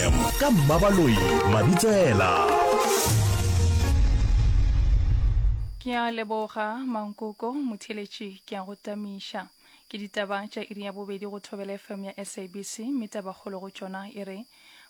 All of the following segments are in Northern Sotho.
FM ka Mmabaloi Mabitsela. Ke a leboga Mankoko motheeletši ke a go tamiša. Ke ditaba tša iri ya bobedi go Thobela FM ya SABC mme tabakgolo go tšona e re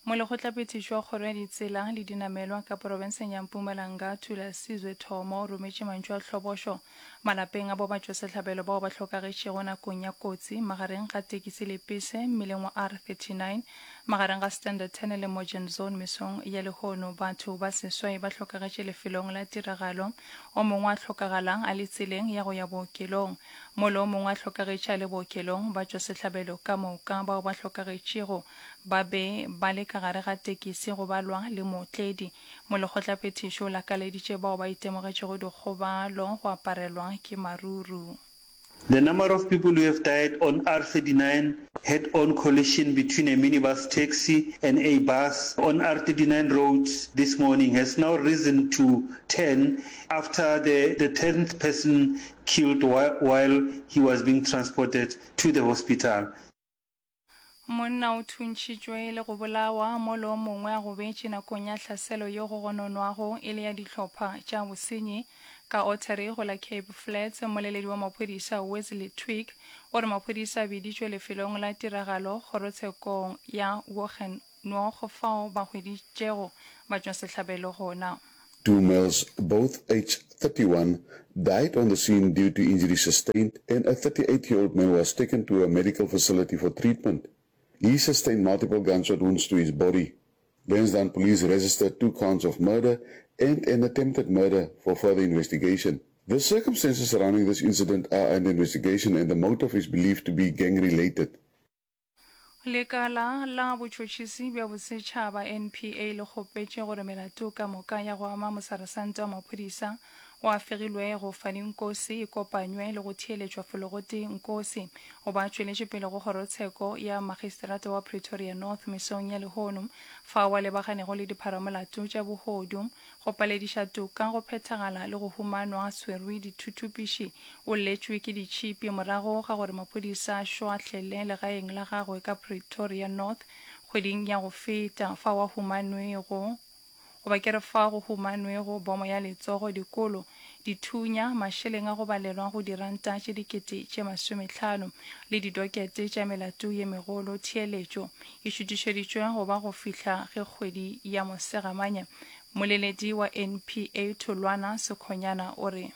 Molekgotlaphethiši wa Kgoro ya Ditsela le Dinamelwa ka porofenseng ya Mpumalanga Thulasizwe Thomo o rometše mantšu a hlobošo malapeng a bo batšwasehlabelo bao ba hlokagetšego nakong ya kotsi magareng ga tekisi le pese mmileng wa R39 magareng ga Standerton le Morgenzon mesong ya lehono. Batho ba seswai ba hlokagetše lefelong la tiragalo, o mongwe a hlokagala a le tseleng ya go ya bookelong mola o mongwe a hlokagetše a le bookelong. Batšwasehlabelo ka moka bao ba hlokagetšego ba be ba le ka gare ga tekisi go balwa le mootledi. Molekgotlaphethiši o lakaleditše bao ba itemogetšego dikgobalo go aparelwa ke maruru. The number of people who have died on R39 head-on collision between a minibus taxi and a bus on R39 road this morning has now risen to 10 after the the tenth person killed while he was being transported to the hospital. Monna o thuntšhitšwe le go bolawa mola o mongwe a gobetše nakong ya hlaselo yeo go gononwago e le ya dihlopha tša bosenyi ka Ottery go la Cape Flats. Mmoleledi wa maphodisa Wesley Twigg o re maphodisa a biditšwe lefelong la tiragalo kgorotshekong ya Wogennoog fao ba hweditšego batšwasehlabelo gona. Two males, both aged 31, died on the scene due to injuries sustained and a 38-year-old man was taken to a medical facility for treatment. He sustained multiple gunshot wounds to his body. Lansdowne police registered two counts of murder and an attempted murder for further investigation. The circumstances surrounding this incident are under investigation and the motive is believed to be gang-related. Lekala la Botšhotšhisi bja Bosetšhaba, NPA, le kgopetše gore melato ka moka ya go ama mosaresante wa maphodisa o a fegilwego, Fani Nkosi, e kopanywe le go theeletšwa felogotee. Nkosi o ba tšweletše pele go kgorotsheko ya Magistrata wa Pretoria North mesong ya lehono fao a lebaganego le dipharamolato tša bohodu, Go palediša toka go phethagala le go humanwa a swerwe dithuthupiši. O lletšwe ke ditšhipi morago ga gore maphodisa a šwahlele legaeng la gagwe ka Pretoria North kgweding ya go feta fao a humanwego goba ke re fao go humanwego bomo ya letsogo, dikolo, dithunya, mašeleng a go balelwa go diranta tše dikete tše masomehlano le didokete tša melato ye megolo. Theeletšo e šutišeditšwe go ba go fihla ge kgwedi ya Mosegamanye. Mmoleledi wa NPA Tholwana Sekhonyana o re.